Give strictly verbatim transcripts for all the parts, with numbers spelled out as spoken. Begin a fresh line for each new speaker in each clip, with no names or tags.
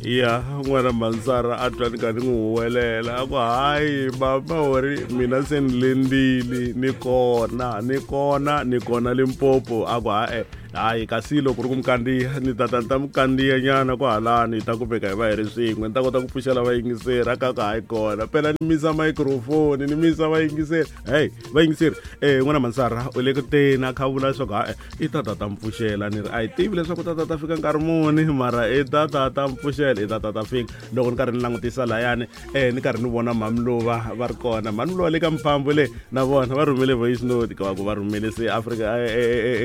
Ya n'wana Mansara a twa ni karhi ni n'wi huwelela a ku hayi mama uri mina se ni lendile ni kona ni kona ni kona Limpopo a ku ha-e hayi kasi loko ri ku mi kandziya ni tata ni ta mi kandziya nyana kwahalani hi ta kumeka hi va hi ri swin'we ni ta kota ku pfuxela vayingiseri a ka ku hayi kona phela ni misa microphone ni misa vayingiseri hey vayingiseri um n'wana Mansara u le ku teni a kha a vula leswaku ha-e i tata ta mi pfuxela ni ri a hi tivi leswaku tata ta fika nkarhi muni mara i tata ta mi pfuxela i tata ta fika loko ni karhi ni langutisa layani um ni karhi ni vona mhamiluva va ri kona mhamiluva le ka mphambo le na vona va rhumele voice note ka ku va rhumele se Afrika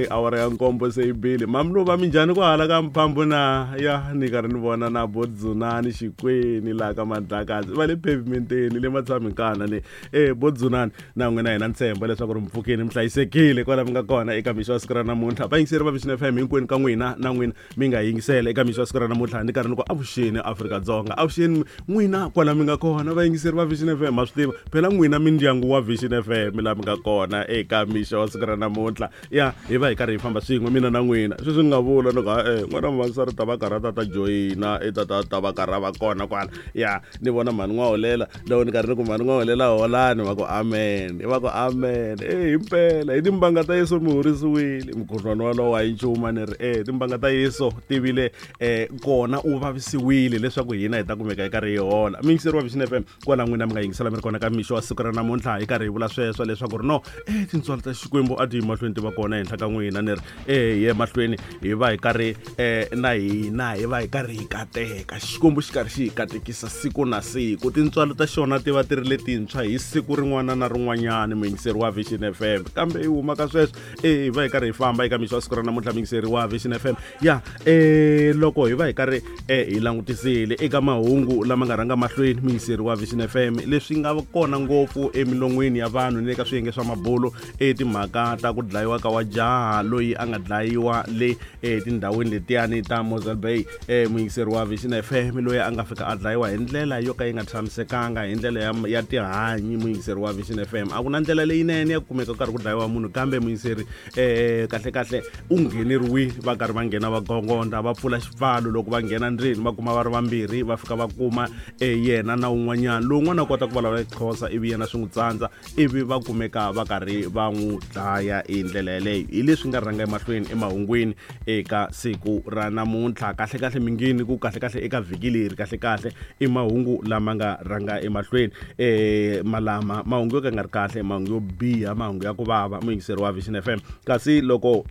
awara ya nkombo se yi bile mhamiluva minjhani ku hala ka mphambo na ya ni karhi ni vona na bodzunani Xikweni laha ka Madlakazi va le pavementeni le Matshamikana le e bodzunani na n'wina hina ntshembo leswaku ri mpfukeni mi hlayisekile kwala mi nga kona eka mixo wa siku ra namuntlha vayingiseri va Vision F M hinkwenu ka n'wina na n'wina mi nga yingisela eka mixo wa siku ra namuntlha ni karhi ni ku avuxeni Afrika-Dzonga avuxeni n'wina kwala mi nga kona vayingiseri va Vision F M ma swi tiva phela n'wina mindyangu wa Vision F M laha mi nga kona eka mixo wa siku ra namuntlha ya hi va hi karhi hi famba swin'we mina na n'wina sweswi ni nga vula ni ku ha-e n'wana Mansara ta va karhi a ta ta joyina i ta ta ta va karhi a va kona kwala ya ni vona mhani n'waholela loko ni karhi ni ku mhani n'waholela holani va ku amen va ku amen e himpela hi timbanga ta Yesu mi horisiwile mukhuhlwani walowo a yi nchumu ni ri e timbanga ta Yesu tivile um kona u vavisiwile leswaku hina hi ta kumeka hi karhi hi hola miyingiseri wa Vision F M kwala n'wina mi nga yingisela mi ri kona ka mixo wa siku ra namuntlha hi karhi hi vula sweswo leswaku ri no e tintswalo ta Xikwembu a ti yi mahlweni ti va kona henhla ka n'wina ni ri e hi ye mahlweni hi va hi karhi um na hina hi va hi karhi hi kateka Xikwembu xi karhi xi hi katekisa siku na siku tintswalo ta xona ti va ti ri letintshwa hi siku rin'wana na rin'wanyana muyingiseri wa Vision F M kambe hi huma ka sweswo e hi va hi karhi hi famba eka mixo wa siku ra namuntlha muyingiseri wa Vision F M ya um loko hi va hi karhi um hi langutisile eka mahungu lama nga rhanga mahlweni muyingiseri wa Vision F M leswi nga kona ngopfu emilon'wini ya vanhu ni le ka swiyenge swa mabulo e timhaka ta ku dlayiwa ka wa jaha loyi a nga dlayiwa le etindhawini letiyani ta Mosel Bay um muyingiseri wa Vision F M loyi a nga fika a dlayiwa hi ndlela yo ka yi nga tshamisekanga hi ndlela ya, ya tihanyi muyingiseri wa Vision F M a ku na ndlela leyinene ya ku kumeka ku karhi ku dlayiwa munhu kambe muyingiseri um kahle kahle u ngheneriwile va karhi va nghena va gongonda va pfula xipfalo loko va nghena ndzeni va kuma va ri vambirhi va fika va kuma um yena na un'wanyana lowun'wana a kota ku vulavula Xixhosa ivi yena swi n'wi tsandza ivi va kumeka va karhi va n'wi dlaya hi ndlela yeleyo hi leswi nga rhanga emahlweni emahungwini eka siku ra namuntlha kahle kahle mingini ku kahle kahle eka vhiki leri kahle kahle i mahungu lama nga rhanga emahlweni um malama mahungu yo ka nga ri kahle mahungu yo biha mahungu ya ku vava muyingiseri wa Vision F M kasi loko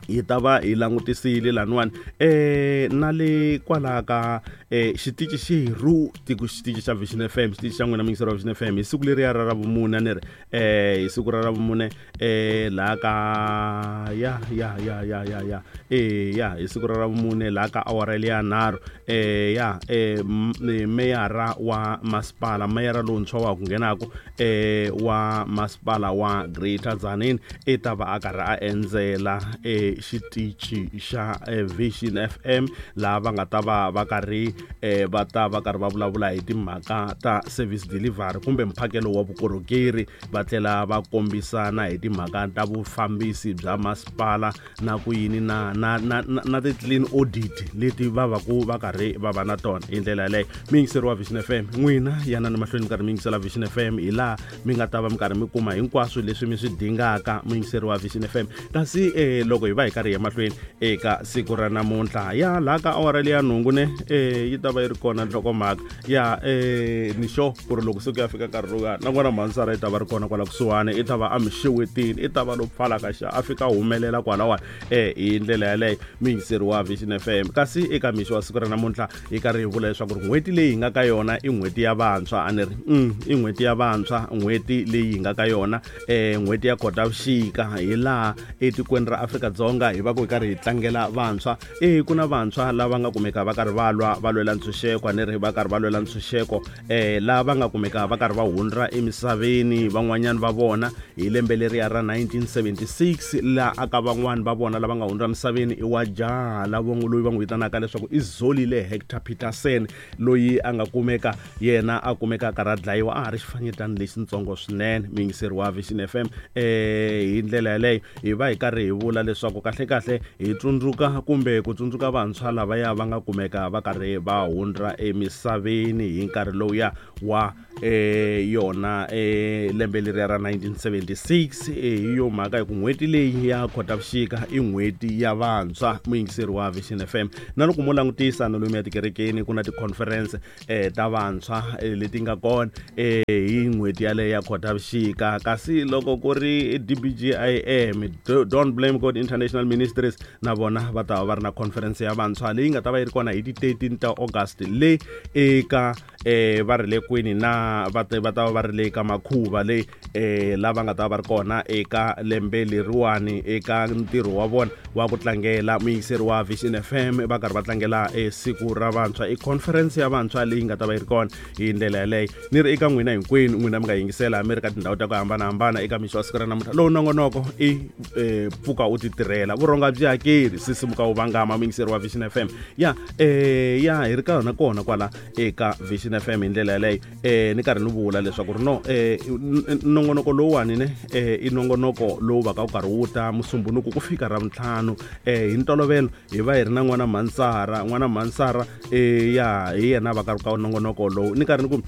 hi ta va hi langutisile laniwani um na le kwalaha ka um xitichi xerhu tiko xitichi xa Vision F M xitichi xa n'wina muyingiseri wa Vision F M hi siku leriya ra ravumune a ni ri um hi siku ra ravumune um laha ka ya ya ya ya ya ya e ya hi siku ra ravumune laha ka awara liya nharhu um ya um meyara wa masipala meyara lowuntshwa wa ha ku nghenaku um wa masipala wa Greater Tzaneen i ta va a karhi a endzela um xitichi xa Vision F M laha va nga ta va va karhi um va ta va karhi va vulavula hi timhaka ta service delivery kumbe mphakelo wa vukorhokeri va tlhela va kombisana hi timhaka ta vufambisi bya masipala na ku yini na na na na ti-clean audit leti va va ku va karhi va va na tona hi ndlela yaleyo muyingiseri wa Vision F M n'wina yanani mahlweni mi karhi mi yingisela Vision F M hi laha mi nga ta va mi karhi mi kuma hinkwaswo leswi mi swi dingaka muyingiseri wa Vision F M kasi um loko hi va hi karhi hi ya mahlweni eka siku ra namuntlha ya laha ka awara leya nhungu ne um yi ta va yi ri kona nhlokomhaka ya um ni sure ku ri loko se ku ya fika nkarhi lowuya na n'wana Mansara i ta va ri kona kwala kusuhani i ta va a mi xewetini i ta va lo pfalaka xa a fika a humelela kwalawani um hi ndlela yaleyo muyingiseri wa Vision F M kasi eka mixo wa siku ra namuntlha hi karhi hi vula leswaku ri n'hweti leyi hi nga ka yona i n'hweti ya vantshwa a ni ri mm, i n'hweti ya vantshwa n'hweti leyi hi nga ka yona um n'hweti ya Khotavuxika hi laha etikweni ra Afrika-Dzonga hi va ku hi karhi hi tlangela vantshwa e ku na vantshwa lava nga kumeka va karhi va lwa va lwela ntshunxeko a ni ri va karhi va lwela ntshunxeko um lava va nga kumeka va karhi va hundza emisaveni van'wanyana va vona hi lembe leriya ra nineteen seventy-six laha aka van'wani va vona lava nga hundza emisaveni i wa jaha lava loyi va n'wi vitanaka leswaku i Zolile Hector Peterson loyi a nga kumeka yena a kumeka a karhi a dlayiwa a ha ri xifanyetana lexitsongo swinene muyingiseri wa Vision F M um hi ndlela yaleyo hi va hi karhi hi vula leswaku kahle kahle hi tsundzuka kumbe ku tsundzuka vantshwa lavaya va nga kumeka va karhi va hundza emisaveni hi nkarhi lowuya wa eh yona eh lembe leriya ra nineteen seventy-six. Hi yo mhaka hi ku n'hweti leyi ya Khotavuxika i n'hweti ya vantshwa muyingiseri wa Vision F M. Na loko mo langutisa na lomu ya tikerekeni ku na ti-conference eh ta vantshwa leti nga kona eh hi n'hweti yaleyo ya Khotavuxika. Kasi loko ku ri D B G I M, Don't Blame God International Ministries, na vona va ta va va ri na conference ya vantshwa leyi nga ta va yi ri kona hi ti thirteen ta August le eka eh va ri le kwini na va ta va ta va ri le ka Makhuva le eh lava nga ta va ri kona eka lembe leriwani eka ntirho wa vona wa ku tlangela muyingiseri wa Vision F M va karhi va tlangela siku ra vantshwa, i conference ya vantshwa leyi nga ta va yi ri kona hi ndlela yaleyo. Ni ri eka n'wina hinkwenu n'wina mi nga yingisela mi ri ka tindhawu ta ku hambanahambana eka mixo wa siku ra namuntlha lowu nongonoko i pfuka u ti tirhela vurhonga byi hakeri sisimuka wu vangama muyingiseri wa Vision F M. Ya eh ya hi ri ka yona kona kwala eka Vision F M hi ndlela yaleyo. Eh ni karhi ni vula leswaku ri no eh nongonoko lowuwani ne eh i nongonoko lowu va ka wu karhi wu ta Musumbunuku ku fika Ravuntlhanu. Eh hi ntolovelo hi va hi ri na n'wana Mansara, n'wana Mansara eh ya hi yena va ka ri ka nongonoko lowu. Ni karhi ni ku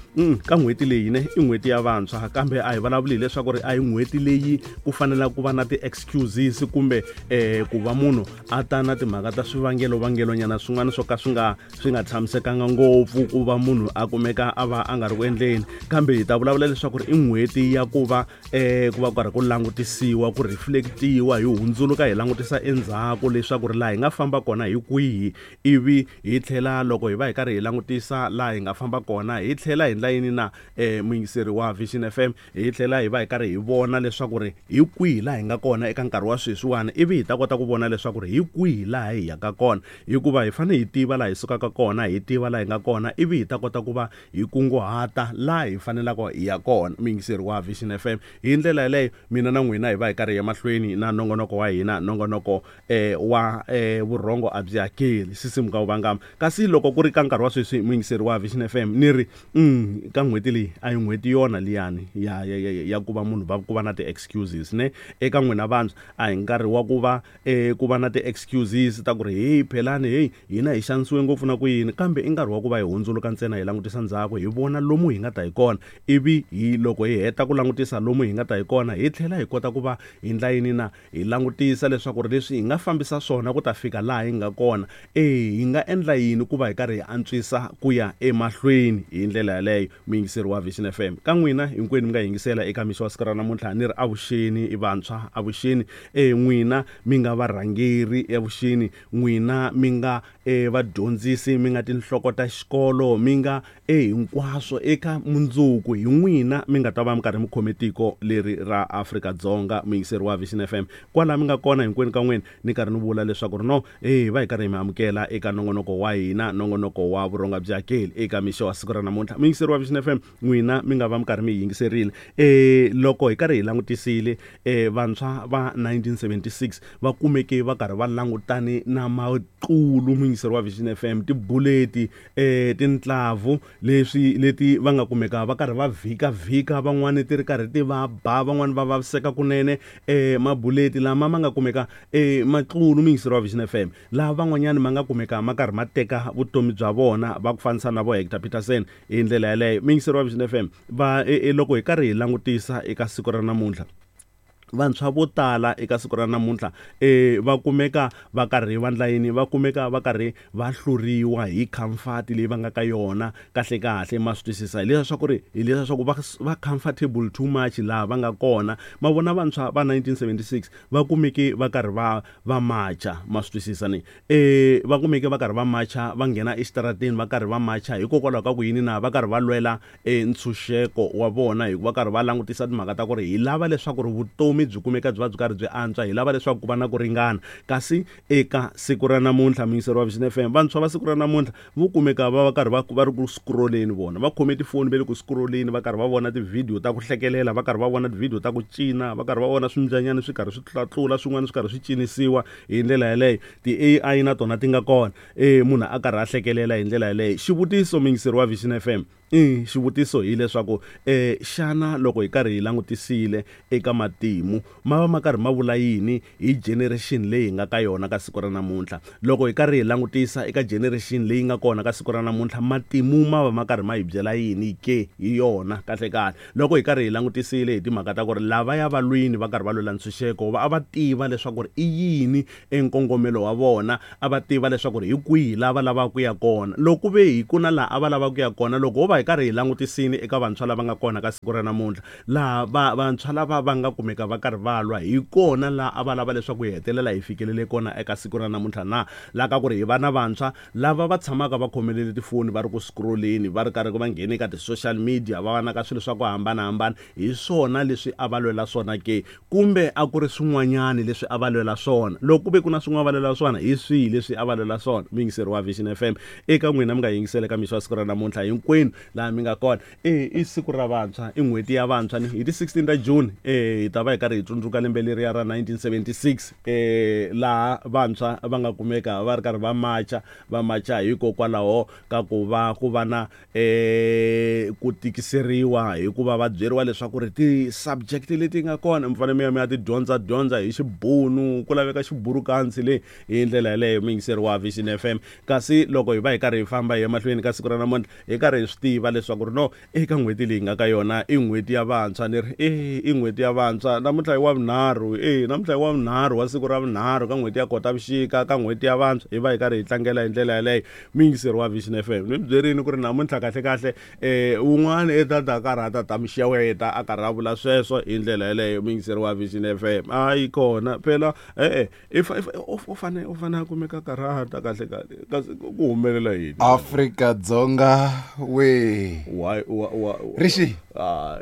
ka n'hweti leyi ne i n'hweti ya vantshwa, kambe a hi vulavuli hileswaku ri a hi n'hweti leyi ku fanela ku va na ti-excuses kumbe eh ku va munhu a ta na timhaka ta swivangelo vangelonyana swin'wana swo ka swi nga swi nga tshamisekanga ngopfu ku va munhu a kumeka a va a nga ri ku endleni. Kambe hi ta vulavula leswaku ri i n'hweti ya ku va eh ku va karhi ku langutisiwa, ku reflectiwa, hi hundzuluka hi langutisa endzhaku leswaku ri laha hi nga famba kona hi kwihi, ivi hi tlhela loko hi va hi karhi hi langutisa laha hi nga famba kona hi tlhela hi ndla yini na eh muyingiseri wa Vision F M, hi tlhela hi va hi karhi hi vona leswaku ri hi kwihi laha hi nga kona eka nkarhi wa sweswiwani, ivi hi ta kota ku vona leswaku ri hi kwihi laha hi yaka kona, hikuva hi fanele hi tiva laha hi sukaka kona, hi tiva laha hi nga kona, ivi hi ta kota ku va hi kunguhata laha hi fanelaka hi ya kona muyingiseri wa Vision F M. Hi ndlela yaleyo mina na n'wina hi va hi karhi hi ya mahlweni na nongonoko wa hina, nongonoko eh wa eh vurhongo a byi hakeli sisimuka wu vangama. Kasi loko ku ri ka nkarhi wa sweswi muyingiseri wa Vision F M ni ri mm ka n'hweti leyi a hi n'hweti yona liyani ya ya ya ku va munhu va ku va na ti-excuses ne eka n'wina vantshwa a hi nkarhi wa ku va eh ku va na ti-excuses ta ku ri hey phelani hey hina hi xanisiwe ngopfu na ku yini, kambe i nkarhi wa ku va hi hundzuluka ntsena hi langutisa ndzhaku hi vona lomu hi nga ta hi kona, ivi hi loko hi heta ku langutisa lomu hi nga ta hi kona hi tlhela hi kota ku va hi ndla yini na hi langutisa leswaku ri leswi hi nga fambisa swona ku ta fika laha hi nga kona, eh hi nga endla yini ku va hi karhi hi antswisa ku ya emahlweni hi ndlela yaleyo muyingiseri wa Vision F M. Ka n'wina hinkwenu mi nga yingisela eka mixo wa siku ra namuntlha ni ri avuxeni i vantshwa, avuxeni eh n'wina mi nga varhangeri, avuxeni n'wina mi nga eh vadyondzisi, mi nga tinhloko ta xikolo, mi nga eh hinkwaswo eka mundzuku hi n'wina mi nga ta va mi karhi mi khome tiko leri ra Afrika-Dzonga muyingiseri wa Vision F M. Kwala mi nga kona hinkwenu ka n'wina ni karhi ni vula leswaku ri no eh va hi karhi hi mi amukela eka nongonoko wa hina, nongonoko wa vurhonga byi hakeli eka mixo wa siku ra namuntlha muyingiseri wa Vision F M. N'wina mi nga va mi karhi mi yingiserile eh loko hi karhi hi langutisile eh vantshwa va nineteen seventy-six va kumeke va karhi va langutane na maqulu muyingiseri wa Vision F M, tibuleti eh tintlavu leswi leti va nga kumeka va karhi va vhika vhika, van'wani ti ri karhi ti va ba, van'wani va vaviseka kunene eh mabuleti lama ma nga kumeka eh maqulu muyingiseri wa Vision F M, laha van'wanyani ma nga kumeka ma karhi ma teka vutomi bya vona va ku fanisa na vo Hector Peterson hi ndlela yaleyo muyingiseri wa Vision F M. Va loko hi karhi hi langutisa eka siku ra namuntlha vantshwa vo tala eka siku ra namuntlha eh va kumeka va karhi va ndla yini, va kumeka va karhi va hluriwa hi comfort leyi va nga ka yona kahle kahle ma swi twisisa hileswaku ri hileswaku va va comfortable too much laha va nga kona. Ma vona vantshwa va nineteen seventy-six va kumeke va karhi va va macha ma swi twisisa ni eh va kumeke va karhi va macha va nghena exitarateni va karhi va macha hikokwalaho ka ku yini na va karhi va lwela eh ntshunxeko wa vona, hikuva karhi va langutisa timhaka ta ku ri hi lava leswaku ri vutomi byi kumeka byi va byi karhi byi antswa, hi lava leswaku ku va na ku ringana. Kasi eka siku ra namuntlha muyingiseri wa Vision F M, vantshwa va siku ra namuntlha vo kumeka va va karhi va va ri ku scrolleni, vona va khome tifoni va le ku scrolleni, va karhi va vona tivhidiyo ta ku hlekelela, va karhi va vona tivhidiyo ta ku cina, va karhi va vona swimbyanyana swi karhi swi tlatlula, swin'wana swi karhi swi cinisiwa hi ndlela yaleyo. Ti A I na tona ti nga kona eh munhu a karhi a hlekelela hi ndlela yaleyo. Xivutiso muyingiseri wa Vision F M, I xivutiso hileswaku eh xana loko hi karhi hi langutisile eka matimu ma va ma karhi ma vula yini hi generation leyi hi nga ka yona ka siku ra namuntlha? Loko hi karhi hi langutisa eka generation leyi nga kona ka siku ra namuntlha, matimu ma va ma karhi ma hi byela yini ke hi yona kahle kahle? Loko hi karhi hi langutisile hi timhaka ta ku ri lavaya va lwini va karhi va lwela ntshunxeko, va a va tiva leswaku ri i yini enkongomelo wa vona, a va tiva leswaku ri hi kwihi lava lavaka ku ya kona. Loko ve hi ku na laha a va lava ku ya kona, loko ho va hi karhi hi langutisini eka vantshwa lava nga kona ka siku ra namuntlha, laha va vantshwa lava va nga kumeka va karhi va lwa hi kona laha a va lava leswaku hi hetelela hi fikelele kona eka siku ra namuntlha na laha ka ku ri hi va na vantshwa lava va tshamaka va khomelele tifoni, va ri ku scrolleni, va ri karhi va nghene ka ti-social media, va va na ka swilo swa ku hambanahambana, hi swona leswi a va lwela swona ke, kumbe a ku ri swin'wanyani leswi a va lwela swona? Loko ku ve ku na swin'wana va lwela swona, hi swihi leswi a va lwela swona? Muyingiseri wa Vision F M, eka n'wina mi nga yingisela eka mixo wa siku ra namuntlha, hinkwenu laha mi nga kona, e i siku ra vantshwa, i n'hweti ya vantshwa, ni hi ti sixteen ta June eh hi ta va hi karhi hi tsundzuka lembe leriya ra nineteen seventy-six, eh laha vantshwa va nga kumeka va ri karhi va macha, va macha hikokwalaho ka ku va ku va na eh ku tikiseriwa hikuva va byeriwa leswaku ri ti-subject leti nga kona mi fanele mi ya mi ya ti dyondza dyondza hi xibunu, ku laveka xiburukansi le hi ndlela yaleyo. Muyingiseri wa Vision F M, kasi loko hi va hi karhi hi famba hi ya mahlweni ka siku ra namuntlha, hi karhi hi swi tiva leswaku ri no eka n'hweti leyi nga ka yona i n'hweti ya vantshwa, ni ri e i n'hweti ya vantshwa namuntlha hi wa vunharhu, e namuntlha hi wa vunharhu wa siku ra vunharhu ka n'hweti ya Khotavuxika ka n'hweti ya vantshwa, hi va hi karhi hi tlangela hi ndlela yaleyo. Muyingiseri wa Vision F M, ni mi byerini ku ri namuntlha kahle kahle eh un'wana i ta ta karhi a ta ta mi xeweta a karhi a vula sweswo hi ndlela yaleyo. Muyingiseri wa Vision F M, a yi kona phela e-e u fane u fane a kumeka karhata kahle kahle, kasi ku humelela yini?
Afrika Dzonga we
why wa
Rishi
ah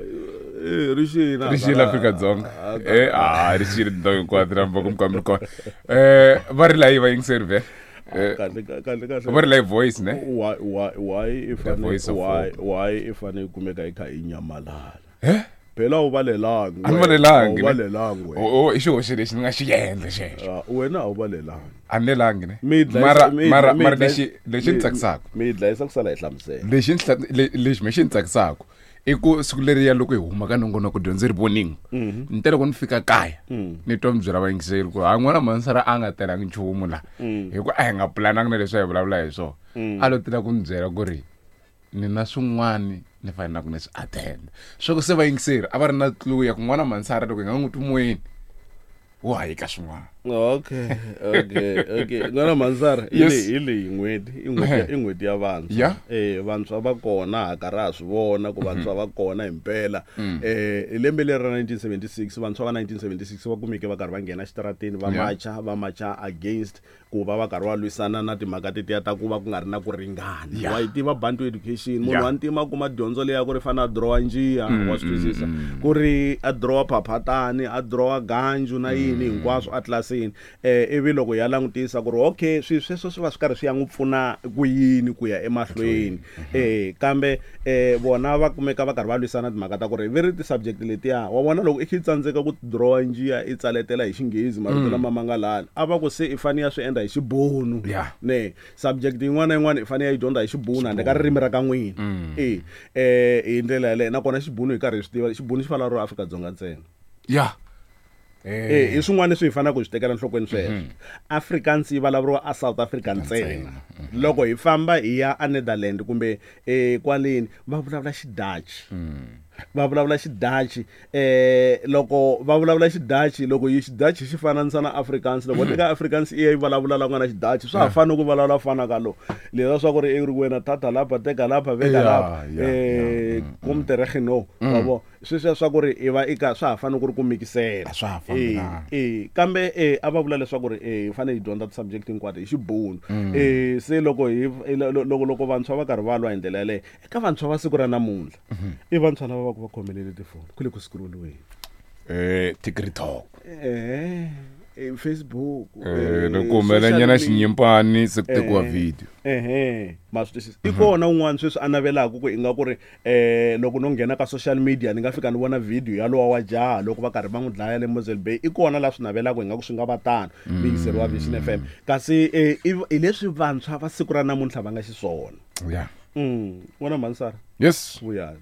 Rishi na
Rishi la Afrika Dzonga eh ah Rishi ri ndhawu hinkwato na mboko mkambi kona eh va ri la va yingiseri ve
kahle kahle kahle
va ri la voice ne
why why why if why why if ane kumeka yi kha yi nyamalala
eh
phela u valelangi
a ni valelangi
u valelangi
o i xihoxo lexi ni nga xi endla xexo
wena a wu valelangi
a ni lelangi ne mara mara mara lexi lexi ni tsakisaka
mi dlayisa ku sala hi hlamusela
lexi lexi me xi ni tsakisaka i ku siku leriya loko hi huma ka nongonoko dyondzo ri voninga, ni te loko ni fika kaya ni twa mi byela vayingiseri ku hayi n'wana Mansara a nga telangi nchumu la, hi ku a hi nga pulanangi na leswi a hi vulavula hi swona, a lo tela ku ni byela ku ri ni na swin'wani ni fanelaka ni swi attend. Swa ku se vayingiseri a va ri na clue ya ku n'wana Mansara loko hi nga n'wi twi moyeni wo hayika swin'wana.
Okay, okay, okay. N'wana Mansara hi leyi hi leyi n'hweti i n'hweti i n'hweti ya vantshwa. Eh vantshwa va kona ha karhi ha swi vona ku vantshwa va kona himpela. Eh hi lembe leri ra nineteen seventy-six, vantshwa va nineteen seventy-six va kumeke va karhi va nghena xitarateni va macha, va macha against ku va va karhi va lwisana na timhaka tetiya ta ku va ku nga ri na ku ringana. Wa yi tiva Bantu education, munhu wa ntima kuma dyondzo leyi ya ku ri fana a dirowa njiya, wa swi twisisa ku ri a dirowa phaphatani, a dirowa ganju na yini hinkwaswo a tlilasini. Eh ivi loko ya langutisa ku ri okay swi sweswo swi va swi karhi swi ya n'wi pfuna ku yini ku ya emahlweni. Eh kambe eh vona va kumeka va karhi va lwisana timhaka ta ku ri ve ri ti-subject letiya wa vona loko i kha i tsandzeka ku dirowa njiya i tsaletela hi xinghezi marito lama ma nga lani, a va ku se i fane ya swi endla hi xibunu. Ne subject yin'wana na yin'wana i fanele ya yi dyondza hi xibunu handle ka ririmi ra ka n'wina. E eh hi ndlela yaleyo, nakona xibunu hi karhi hi swi tiva xibunu xi vulavuriwa Afrika-Dzonga ntsena.
Ya
eh i swin'wana leswi hi fanelaka ku swi tekela enhlokweni sweswo. Afrikaans yi vulavuriwa a South Africa ntsena. Loko hi famba hi ya a Netherlands kumbe eh kwaleni va vulavula xidutch. Va vulavula xidutch, eh loko va vulavula xidutch, loko yi xidutch xi fananisa na Afrikaans, loko teka Afrikaans i ya yi vulavula la ku nga na xidutch, swa ha fani ku vulavula fana ka lo leswi swa ku ri i ri wena tata lapha teka lapha veka lapha eh kom tereg no wa vo sweswiya swa ku ri i va i ka swa ha fani ku ri ku mikisela
swa ha fambelana.
Eh kambe eh a va vula leswaku ri eh hi fanele hi dyondza ti-subject hinkwato hi xibunu. Eh se loko hi loko loko vantshwa va karhi va lwa hi ndlela yaleyo, eka vantshwa va siku ra namuntlha i vantshwa lava va ku va khomelele tifoni ku le ku scrolliweni
eh TikTok
eh Facebook
eh loko humelanyana xinyimpani se ku tekiwa video
ehe ma swi twisisa. I kona un'wana sweswi a navelaka ku inga ku ri eh loko no nghena ka social media ni nga fika ni vona video ya lowa wa jaha loko va karhi va n'wi dlaya le Mosel Bay, i kona la swi navelaka ingaku swi nga va tano. Muyingiseri wa Vision F M, kasi eh hi leswi vantshwa va siku ra namuntlha va nga xiswona.
Ya
Mm. N'wana Mansara.
Yes.
Vuyani.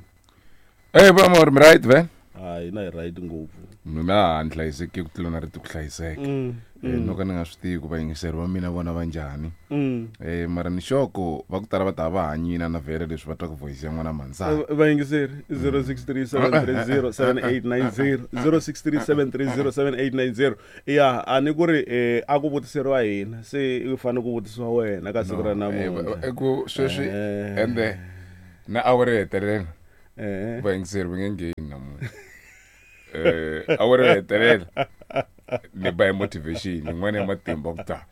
Eh bra mor mi right ve?
Hayi na hi right ngopfu.
Mina a ni hlayiseki ku tlula na ri ku hlayiseka.
Mm.
Eh no ka ni nga swi tivi ku vayingiseri va mina vona va njhani.
Mm.
Eh mara ni xoko va ku tala va ta va hanyina na vhele leswi va twa ku voice ya n'wana Mansara.
Vayingiseri zero six three seven three zero seven eight nine zero zero six three seven three zero seven eight nine zero. Ya a ni ku ri eh a ku vutiseriwa hina se u fanele ku vutisiwa wena ka siku ra namuntlha.
I ku sweswi ende na awara yo hetelela.
Eh.
Vayingiseri va nge ngheni namuntlha. Eh awara yo hetelela ni ba motivation yin'wana ya matimba ku ta.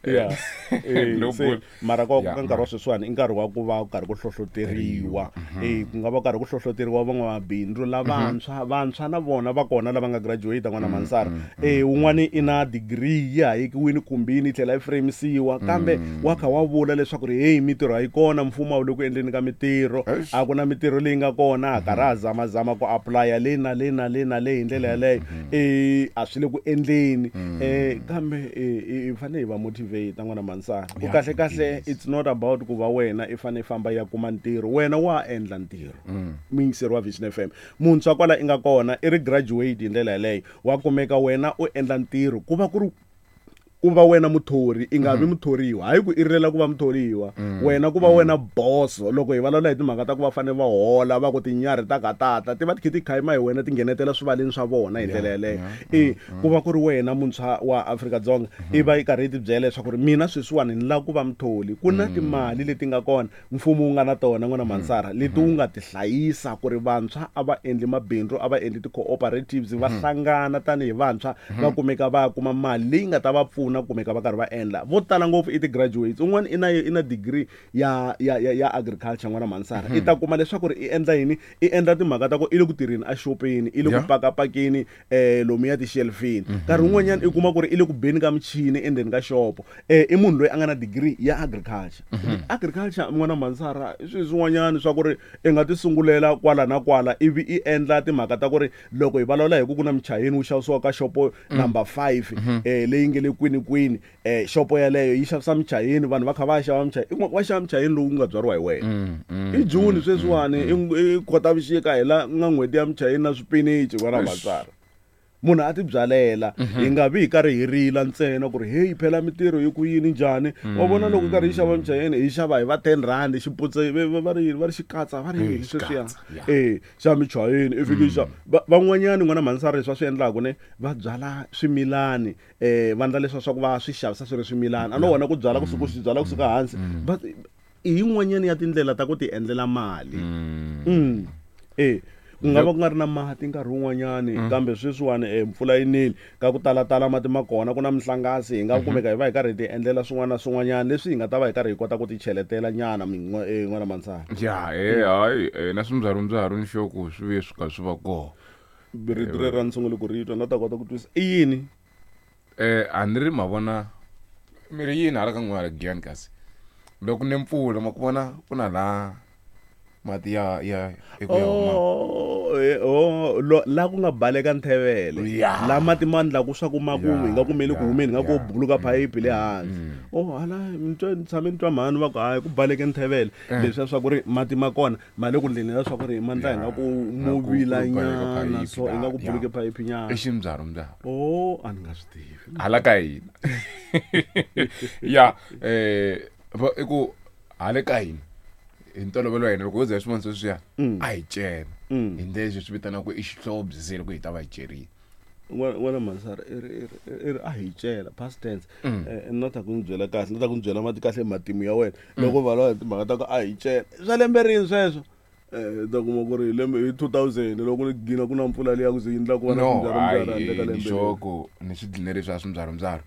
Yeah. Eh,
No
se
bull.
mara ka
Yeah,
ka nkarhi wa sweswiwani i nkarhi wa ku va karhi ku hlohloteriwa. Eh ku nga va karhi ku hlohloteriwa van'wamabindzu lavantshwa, vantshwa na vona va kona lava nga graduate n'wana Mansara. Eh un'wani i na degree ya hayekiwini kumbini yi tlhela yi framisiwa kambe wa kha wa vula leswaku ri hey mitirho a yi kona, mfumo a wu le ku endleni ka mitirho,
Eish.
a ku na mitirho leyi nga kona, a karhi a zamazama ku apply-a le na le na le na le hi ndlela yaleyo. Eh a swi le ku endleni. Eh kambe eh hi fanele hi va motivate n'wana Mansara. Ku kahle kahle it's not about ku va wena i fanele i famba ya kuma ntirho, wena wa endla ntirho. Muyingiseri wa Vision F M, muntshwa kwala i nga kona i ri graduate hi ndlela yaleyo, wa kumeka wena u endla ntirho ku va ku ri ku va wena muthori, i nga vi muthoriwa. Hayi ku i rilela ku va muthoriwa, wena ku va wena boss. Loko hi vulavula hi timhaka ta ku va fanele va hola, va ku tinyarhi ta katata ti va ti kha ti khayima hi wena, ti nghenetela swivaleni swa vona hi ndlela yaleyo. E ku va ku ri wena muntshwa wa Afrika-Dzonga i va i karhi i ti byela leswaku ri mina sweswiwani ni lava ku va mutholi. Ku na timali leti nga kona mfumo wu nga na tona n'wana Mansara, leti wu nga ti hlayisa ku ri vantshwa a va endli mabindzu, a va endli ti-cooperatives, va hlangana tanihi vantshwa va kumeka va kuma mali leyi nga ta va pfuna kumeka va karhi va endla. Vo tala ngopfu i ti-graduates, un'wana i na i na degree ya ya ya, ya agriculture n'wana Mansara. I ta kuma leswaku ri i endla yini, i endla timhaka ta ku i le ku tirheni a xopeni, i le ku
Yeah.
pakapakeni eh lomuya ti-shelfini. Nkarhi wun'wanyana i kuma ku ri i le ku beni ka michini endzeni ka xopo. Eh i munhu loyi a nga na degree ya agriculture. Agriculture n'wana Mansara i swilo swin'wanyana swa ku ri i nga ti sungulela kwala na kwala ivi i endla timhaka ta ku ri loko hi vulavula hi ku ku na michayini wu xavisiwa ka xopo number five eh leyi nge le kwini kwini, eh xopo yaleyo yi xavisa michayini, vanhu va kha va xava michayini, va xava michayini lowu nga byariwa hi wena. I June sweswiwani, i Khotavuxika hi la nga n'hweti ya michayini na swipinichi n'wana Mansara. Munhu a ti byalela, hi nga vi hi karhi hi rila ntsena ku ri hey phela mitirho yi ku yini njhani. Wa vona loko karhi hi xava michayini hi xava hi va ten rand xiputse va ri va ri xikatsa va ri yini sweswiya eh xa michayini i fiki xa van'wanyana n'wana Mansara leswi va swi endlaka ne va byala swimilani eh va endla leswa swa ku va swi xavisa swi ri swimilani. A no wona ku byala kusuka swi byala kusuka hansi, but i yin'wanyana ya tindlela ta ku ti endlela mali. Mm. Eh ku nga va ku nga ri na mati nkarhi wun'wanyani, kambe sweswiwani eh mpfula yi nile ka ku talatala mati ma kona, ku na mihlangasi, hi nga kumeka hi va hi karhi hi ti endlela swin'wana na swin'wanyana leswi hi nga ta va hi karhi hi kota ku ti cheletela nyana n'wana Mansara.
Ya eh hayi na swimbyarumbyarhu ni xoko swi vuye swi ka swi va kona.
Rito rero a ni sunguli ku ri twa, na ta kota ku twisisa i yini.
Eh a ni ri ma vona mi ri yini hala ka n'wana Giyani kasi loko ni mpfula ma ku vona ku na laha mati ya ya eku ya huma.
Oh, eh, oh, lo la ku nga baleka nthevele.
Yeah.
La mati ma ndlaku swa ku ma ku
Yeah,
hi nga kumeli ku
yeah,
humeni, nga ku
yeah.
buluka phayiphi le hansi. Oh, hala ni twa ni tshame ni twa mhani va ku hayi ku baleke nthevele. Leswiya swa ku ri mati ma kona ma le ku ndleni ya swa ku ri ma ndla hi nga ku
Yeah.
mu
Ku- ku
vila
baleka
nyana,
phayiphi
so i nga ku
la,
buluke
yeah.
phayiphi nyana.
I ximbyarumbyarhu.
Oh, a ni nga swi tivi.
Hala ka hina. Ya eh va i ku hala ka hina hi ntolovelo wa hina loko ho za hi swivona sweswiya a hi cela hi ndlela leswi swi vitanaka i xihlovo se loko hi ta va hi cerile.
N'wana Mansara i ri i ri i ri a hi cela past tense. Eh na ta ku ni byela kahle, na ta ku ni byela mati kahle matimu ya wena loko va hi timhaka ta ku a hi cela swa lembe rini sweswo. Eh ta kuma ku ri hi lembe hi two thousand loko ni gina ku na mpfula liya ku ze yi endla ku va na
No,
swimbyarumbyarhu
hayi
handle ka
ni
lembe leri.
xoko ni swi dline leswi a swimbyarumbyarhu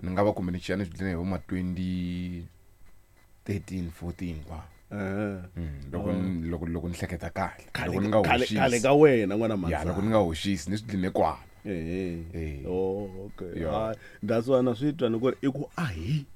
ni nga va kumbe ni xiya ni swi dline hi vo ma twenty thirteen fourteen kwa.
Eh.
Loko loko loko ni hleketa kahle, loko ni nga
Khale
hoxisi.
khale ka wena n'wana
Ya
Mansara.
loko ni nga hoxisi ni swi dline kwala.
Eh.
Eh.
Oh, okay.
Yeah.
Hayi, that's why na swi twa ni ku ri i ku a hi.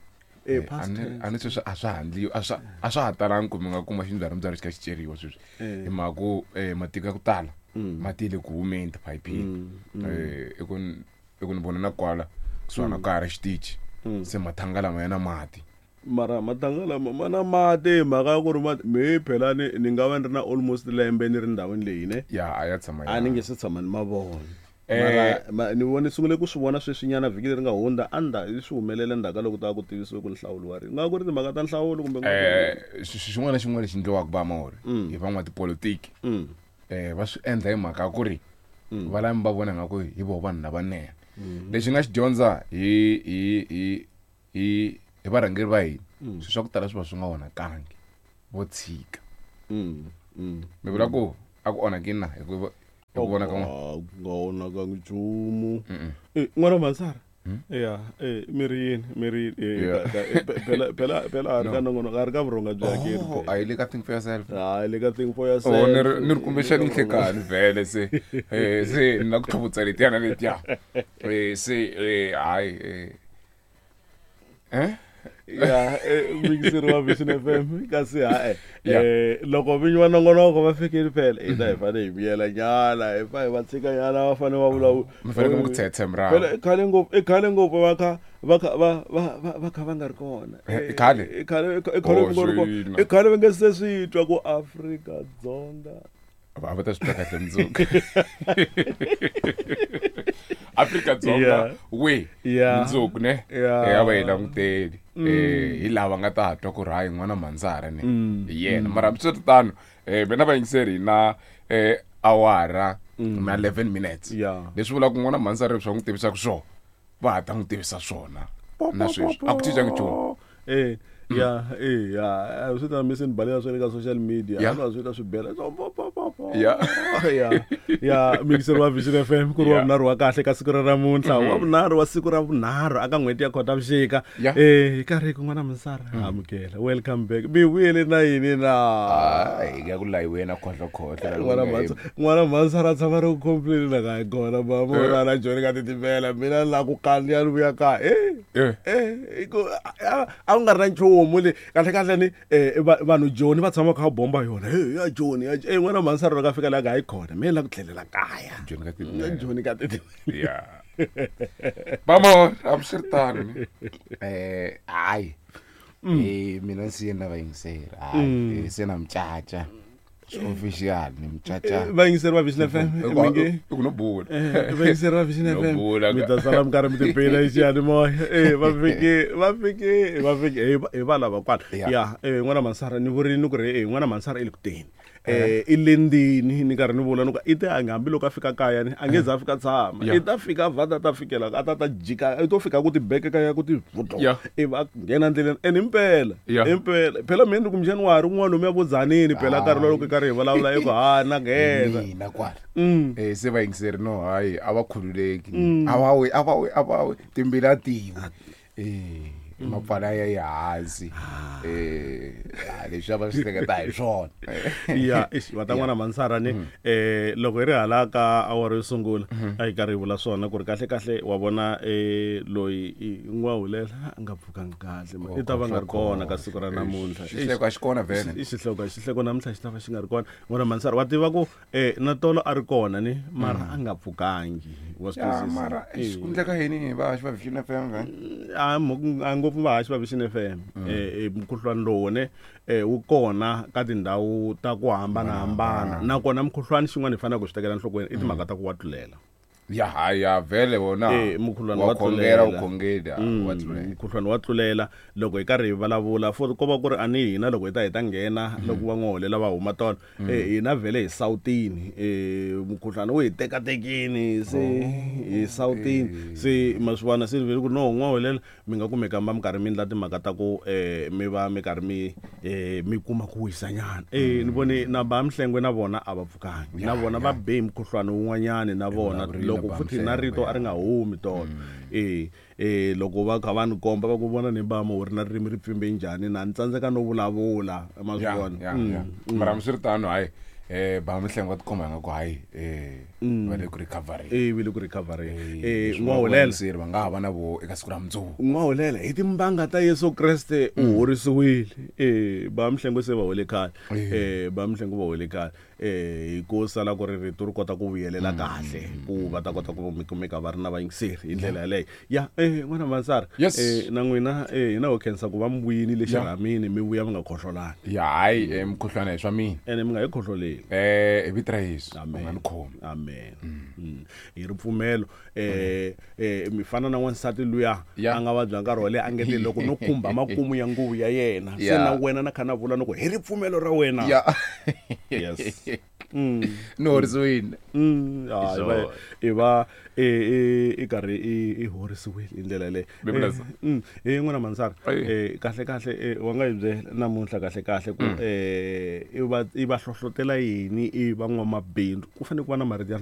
Eh past
a ni
tense.
a ni sweswi a swa handliwi, a swa a swa ha talangi ku mi nga kuma ximbyarumbyarhu xi kha xi ceriwa sweswi. Hi mhaka ku eh matiko ya ku tala mati le ku humeni tiphayiphini. Eh i ku i ku ni vona na kwala kusuhana ka ha ri xitichi se mathanga lama ya na mati.
Mara matanga lama ma na mati hi mhaka ya ku ri mati me phela ni ni nga va ni ri na almost lembe ni ri ndhawini leyi ne
ya a ya tshama
a ni nge se tshama ni ma vona.
Eh.
Mara ma, ni vone sungule ku swi vona sweswinyana vhiki leri nga hundza anda swi humelele ndzhaku ka loko ta ku tivisiwe ku nhlawulo wa ri nga ku ri timhaka ta nhlawulo kumbe ku nga ku ri-
eh xin'wana na xin'wana lexi endliwaka va maori hi van'watipolitiki
Mm.
eh va swi endla hi mhaka ya ku ri va lava va vona nga ku hi voho vanhu lavanene lexi nga xi dyondza hi hi hi hi hi varhangeri va hina swilo swa ku tala swi va swi nga onhakangi vo tshika
Mm. Mm.
mi vula ku a ku onhakini na hi ku hi ku vona ka n'wina
Ah, ku nga onhakangi nchumu Eh, n'wana Mansara ya eh mi ri yini mi ri yini Eh,
Yeah.
ka- ka- eh, pe- phela phela phela a ri ka nongonoko a ri ka vurhonga bya hakeri
Oh,
phela.
a yi le ka think for yourself
hayi le ka think for yourself
Oh, ni ri ni ri kumbexani nhlekani vhele se eh se ni la ku tlhuvutsa letiyana letiya eh se eh hayi eh eh
ya eh, muyingiseri wa Vision F M kasi ha-e
Yeah.
eh loko vinyi va nongonoko va fikile phela hina hi fanele hi miyela nyana hi fa hi va tshika nyana va fanele va vulavula
mi fanele mi ku tshetshe murahu
phela i khale ngopfu i khale ngopfu va kha va kha va va va va kha va nga ri kona
Eh, i khale?
i khale i khale
Oh,
va nga ri kona
swina.
i khale va nga se swi twa ku Afrika-Dzonga
va va ta swi twa kahle mundzuku Afrika-Dzonga
Yeah.
we
Yeah.
mundzuku ne
Yeah.
Eh, a va hi languteli eh hi lava nga ta twa ku ri hayi n'wana Manzara ne hi yena mara hambiswiritano eh mina vayingiseri hi na eh awara na eleven minutes
Yeah.
leswi vulaka n'wana Manzara leswi va n'wi tivisaka swona va ha ta n'wi tivisa swona na sweswi a ku cincangi nchumu
eh ya eh ya a swi ta mi se ni balela swa le ka social media
Yeah.
a va swi ta swi bela so po po po po
Yeah.
ya ya muyingiseri wa Vision F M ku ri wa
Yeah.
vunharhu wa kahle ka siku ra namuntlha wa vunharhu wa siku ra vunharhu aka n'hweti ya Khotavuxika
Yeah.
eh hi karhi ku n'wana Mansara amukela welcome back mi vuyele na yini na
hayi ya ku layiwe na khohlokhohlo
n'wana Mansa n'wana Mansara a tshama ri ku complain la ka hi kona mama u rana joni ka titimela mina la ku kandziya ni vuya kaya eh
Eh.
eh i ku a a ku nga ri na nchumu le kahle kahle ni eh, va- vanhu joni va tshama kha va bomba yona hey ya joni ya eh n'wana Mansara loko a fika la ka hayi khona mina la ku tlhelela kaya
Joni ka
Ya
titimela.
joni ka titimela
ya vamo hambiswiritano ne eh hayi eh mina se na vayingiseri hayi eh, se na mucaca swi official ni mucaca
vayingiseri va Vision F M mi nge
i ku no bula
Eh, vayingiseri va Vision
No
F M
bula
mi
ka-
ta sala mi karhi mi tipela hi xiyanimoya eh va fike va fike va fike hi va- hi va lava kwala
Yeah.
ya eh n'wana Mansara ni vurini ni ku ri eh n'wana Mansara i le ku teni eh i le ndini ni karhi ni vula ni ku i te a nga hambi loko a fika kaya ni a nge za a fika tshama
Yeah.
i ta fika vhata ta fikela a ta ta jika i to fika ku tibeke kaya ku ti vutlo
Yeah.
ivi a nghena ndleleni and impela
Yeah.
impela phela mina ni ku January un'wana lomu ya vo Tzaneen phela nkarhi lowu loko hi karhi hi vulavula i ku ha na nghena
mina kwala
Mm.
eh se vayingiseri no hayi a va khululeki a va wi a va wi a va wi timbila tiwi eh mapfala ya yi hansi eh ah, leswi a va swi hleketa hi swona
ya eish va ta n'wana Mansara ni eh loko hi ri hala ka awara yo sungula a hi karhi hi vula swona ku ri kahle kahle wa vona eh loyi i n'wahulela a nga pfukangi kahle ma i ta va nga ri kona ka siku ra namuntlha
xihleko a xi kona vhele
i xihloko xihleko namuntlha xi ta va xi nga ri kona n'wana Mansara wa tiva ku eh na tolo a ri kona ni mara a nga pfukangi wa swi
ya
twisisa
mara eish, ku endleka yini va xi va Vision F M vhele
a mo- a ngopfu vahaxi va Vision F M eh mukhuhlwani lowu ne eh wu kona ka tindhawu ta ku hambanahambana nakona mukhuhlwani xin'wana hi faneleke ku swi tekela enhlokweni i timhaka ta ku wa tlulela
ya hayi ya vhele wona
Eh, mukhuhlwani
wa
wa
khongela u
tlulela.
khongeli ah,
Mm,
wa tlulela
mukhuhlwani wa tlulela loko hi karhi hi vulavula for ko va ku ri a ni hina loko hi ta hi ta nghena loko va n'wiholela va huma tona eh hina vhele hi sawutini eh mukhuhlwani wu hi tekatekini se hi sawutini se ma swi vona se ni vele ku no n'waholela mi nga kumeka mi va mi karhi mi endla timhaka ta ku eh mi va mi karhi mi eh mi kuma ku wisanyana eh ni vone na ba Mhlengwe na vona a va pfukangi na
Ya,
vona
ya.
va be hi mukhuhlwani wun'wanyani na vona
vulavurile
loko
ba
futhi na
Mhlengwe,
rito a ri nga humi tolo eh eh loko va kha va ni komba va ku vona ni bama u ri na ririmi ri pfimbe njhani na ni tsandzeka no vulavula ma swi
ya
vona
ya
Mm,
ya mara hambiswiritano hayi Eh ba mihlengo va tikomba nga ku hayi eh va le ku recovery.
Eh vi le ku recovery.
Eh,
Eh n'wahulela.
Sir va nga ha va na vo eka siku ra mundzuku.
N'wahulela hi timbanga ta Yesu Kreste u horisiwile. Eh ba mihlengo se va hole khale. Eh ba mihlengo va hole khale. Eh hi ku sala ku ri rito ri kota ku vuyelela kahle ku va ta kota ku mi kumeka va ri na vayingiseri hi ndlela yaleyo. Ya eh n'wana Mansara
Yes.
eh na n'wina eh hina ho khensa ku va mi vuyini le
Ya.
xirhamini mi vuya mi nga khohlolani.
Ya hayi eh, mukhuhlwana hi swa mina.
Ene mi nga yi khohloleli.
Eh hi vito ra Yesu u
Amen.
nga ni khomi.
Amen. Mm. Hi ripfumelo eh eh mi fana na wansati luya
Ya.
a nga vabya nkarhi wo leha a nge te loko no khumba makumu ya nguvu ya yena se
Ya.
na wena na kha na vula ni ku hi ripfumelo ra wena.
Ya.
Yes.
Ni horisiwile.
Mm, ah,
Hi
i va
swona.
i va i i i karhi i i horisiwile hi ndlela yaleyo.
Bibele-
Eh, mm, eh n'wana Mansara
Ayi.
eh kahle kahle eh, wa nga hi byela namuntlha kahle kahle ku eh i va i va hlohlotela yini i van'wamabindzu ku fanele ku va na marito ya